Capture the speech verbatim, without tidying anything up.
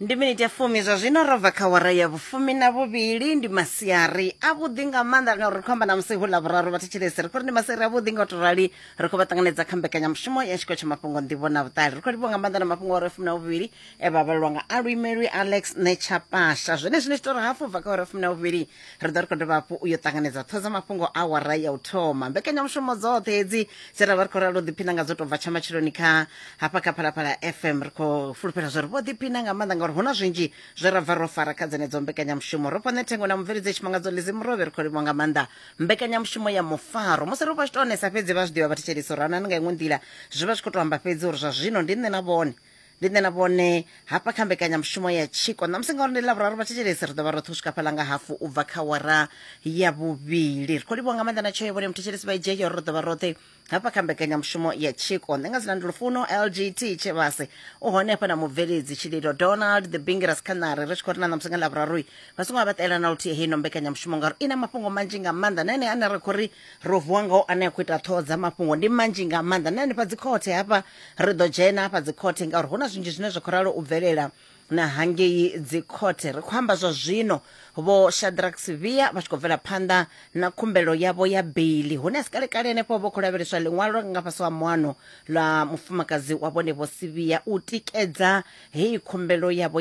Ndi miniti ya fumi zwa zwino ro bva kha wara ya vhufumi na vhuvhili. Ndi masiari avhuḓi nga maanḓa ngauri ri khou amba na musi hu ḽa vhuraru. Vhathetshelesi, ri khou ri ndi masiari avhuḓi nga u tou rali, ri khou vha ṱanganedza kha mbekanyamushumo ya tshiko tsha mafhungo, nḓivho na vhuṱali. Ri khou livhuwa nga maanḓa na mafhungo a wara ya fumi na vhuvhili e vha vhalelwa nga aluimelwi Alex Nechapasha. Zwenezwi ni tshi tou ri hafu bva kha wara ya fumi na vhuvhili, ri ḓo ri khou dovha hafhu u yo ṱanganedza ṱhoho dza mafhungo a wara ya u thoma. Mbekanyamushumo dzoṱhe hedzi dze ra vha ri khou ralo ḓiphina nga dzo tou bva tsha matsheloni kha hafha kha Phalaphala F M, ri khou fulufhela zwa uri vho ḓiphina nga maanḓa ngauri hu na zwinzhi zwe ra bva ro fara kha dzenedzo mbekanyamushumo. Ro fha thengo na mubveledzi Tshimangadzo Lizimurovhe, ri khou livhuwa nga maanḓa mbekanyamushumo ya mufaro. Musi ri vha tshi tou onesa fhedzi, vha zwi ḓivha vhathetshelisi uri anani nga iṅwe nḓila zwi vha zwi khou tou amba fhedzi uri zwa zwino ndi nṋe na vhone, ndi nṋe na vhone hafha kha mbekanyamushumo ya tshiko ṋamusi ngauri ndi ḽavhuraru. Vhathetshelesi, ri ḓo vha roṱhe u swika fhaḽa nga hafu u bva kha wara ya vhuvhili. Ri khou livhuwa nga maanḓa na tsheo ya vhone muthetshelesi vha idzhia uri ri ḓo vha roṱhe hafha kha mbekanyamushumo ya tshiko. Nṋe nga dzina ndi Lufuno L G T Tshivhase, u hone hafha na mubveledzi Tshililo Donald the Bingiras Khanare. Ri tshi khou ri na ṋamusi nga ḽavhuraru vha songo vha ṱalela na luthihi heino mbekanyamushumo ngauri i na mafhungo manzhi nga maanḓa, na ene ane ra khou ri ro vuwa ngao ane a khou ita ṱhoho dza mafhungo ndi manzhi nga maanḓa. Na hanefha dzikhothe hafha ri ḓo dzhena hafha dzikhothe ngauri hu na zwinzhi zwine zwa khou ralo u bvelela na hangei dzikhothe. Ri khou amba zwa zwino vho Shadrack Sivia vha tshi khou bvela phanḓa na khumbelo yavho ya beili, hune a si kalekale henefho vho khou lavheleswa ḽiṅwalo nga fhasi ha muano ḽa mufumakadzi wa vhone vho Sivia u tikedza heyi khumbelo yavho.